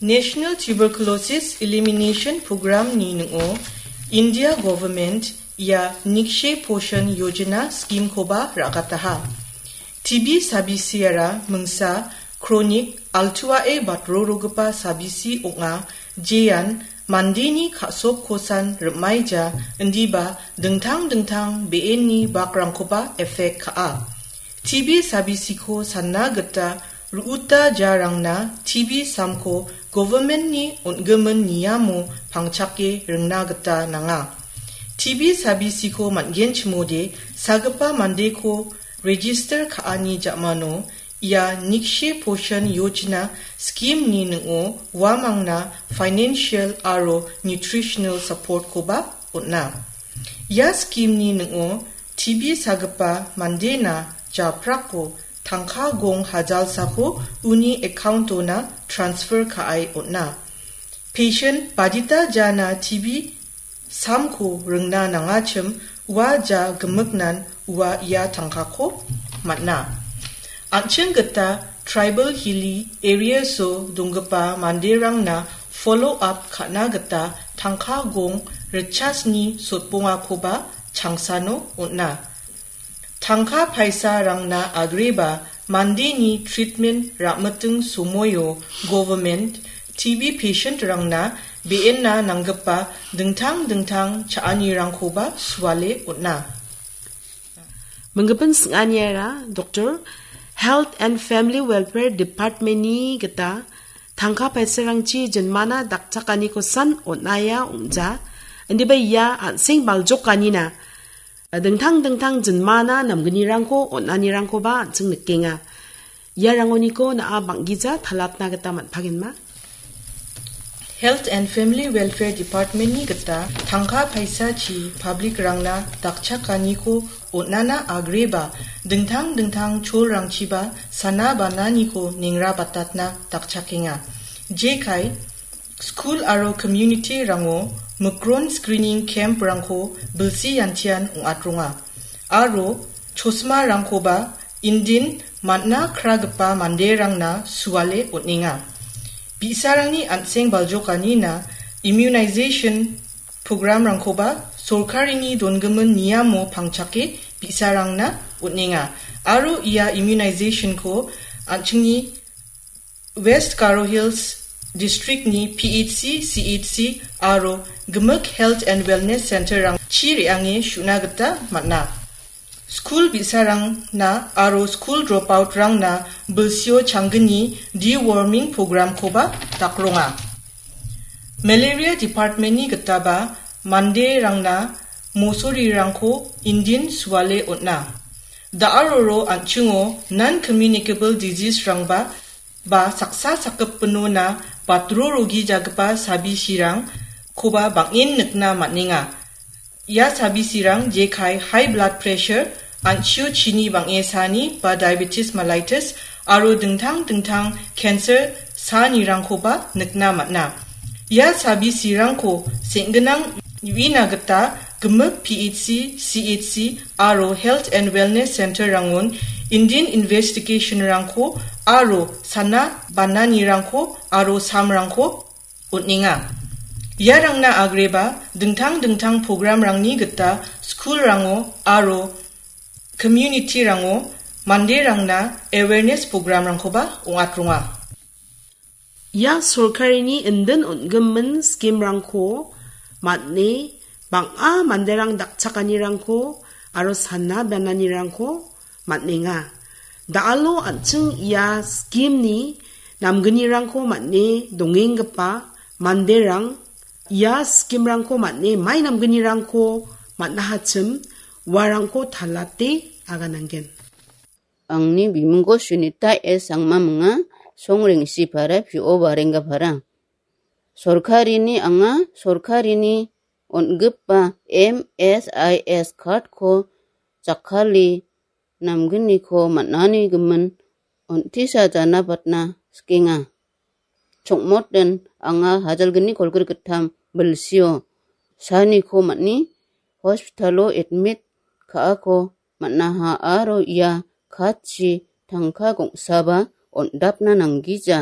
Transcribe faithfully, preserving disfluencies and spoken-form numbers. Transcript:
National Tuberculosis Elimination Program-ni ning·o India government ia Nikshay Poshan Yojana scheme-koba ra·gataha. T B sabisiara mingsa kronik altuae batrorogipa sabisi ong·a, jean mandeni ka·sokkosan rim·aija, indiba dingtang dingtang be·enni bakrangkoba effect ka·a. T B sabisiko sanna gita ru·uta jarangna T B samko government-ni on·gimin niamo pangchake ringna gita nanga. T B sabisiko man·genchimode sagipa mandeko register ka·ani ja·mano ia Nikshay Poshan Yojana scheme-ni ning·o uamangna financial aro nutritional support-koba on·a. Ia scheme-ni ning·o T B sagipa mandena japrako tangka gong hajalsako uni account-ona transfer ka·e on·a. Patient badita jana T B samko ringna nangachim ua ja gimiknan ua ia tangkako man·a. An·ching gita tribal hilly areas-o donggipa manderangna follow up ka·na gita tangka gong ritchasni sotbongakoba changsano on·a. Tangka paisarangna agreba mandeni treatment ra·miting somoio government T B patient-rangna be·enna nanggipa dingtang dingtang cha·anirangkoba suale on·a. Minggipin sing·aniara, Doctor, Health and Family Welfare Department-ni gita tangka paisarangchi jinmana dakchakanikosan on·aia ong·ja, indiba ia an·seng baljokanina dingtang dingtang jinmana namgnirangko on·anirangkoba an·ching nikenga. Iarangoniko na·a bang·gija talatna gita man·pagenma. Health and Family Welfare Department-ni gita tangka paisachi public-rangna dakchakaniko on·ana agreba dingtang dingtang cholrangchiba sana bananiko nengrabatatna dakchakenga. Jekai, skul aro community-rango mikron screening camp-rangko bilsi yantian ong·atronga. Aro chosmarangkoba indin man·a kragipa manderangna suale on·enga. Bi·sarangni an·seng baljokanina immunization program-rangkoba sorkarini dongimin niamo pangchake bi·sarangna on·enga. Aro ia immunization-ko an·chingni West Garo Hills District-ni P H C, C H C aro gimik Health and Wellness Center-rangchi re·ange su·na gita man·a. Skul bi·sarangna aro skul dropout-rangna bilsio changgni deworming program-koba dakronga. Malaria Department-ni gitaba manderangna mosorirangko indin suale on·a. Da·aroro an·chingo non-communicable disease-rangba ba saksa sakgipinona batrorogijagipa sabisirangkoba bang·en nikna man·enga. Ia sabisirang jekai high blood pressure, an·chio chini bang·e saani ba diabetes mellitus aro dingtang dingtang cancer saanirangkoba nikna man·a. Ia sabisirangko seng·ginang uina gita gimik P H C, C H C aro Health and Wellness Center-rangon indin investigation-rangko aro sana bananirangko aro samrangko on·enga. Iarangna agreba dingtang dingtang program-rangni gita skulrango aro community-rango manderangna awareness program-rangkoba ong·atronga. Ia sorkarini indin on·gimin scheme-rangko man·e bang·a manderang dakchakanirangko aro sana bananirangko man·enga. Da·alo an·ching ia scheme-ni namgnirangko man·e dongenggipa manderang ia scheme-rangko man·e mai namgnirangko man·ahachim uarangko talate agananggen. Angni bimingko Sunita S Sangma minga, Songrengsi para, P O Barenga para. Sorkarini anga, sorkarini on·gipa M S I S card-ko jakkali namgniko man·ani gimin on·tisa jana patna sikenga. Chongmot den anga hajalgni kolgrik gittam bilsio saniko man·e hospital-o admit ka·ako man·aha aro ia card-chi tangka gongsaba on·dapna nanggija.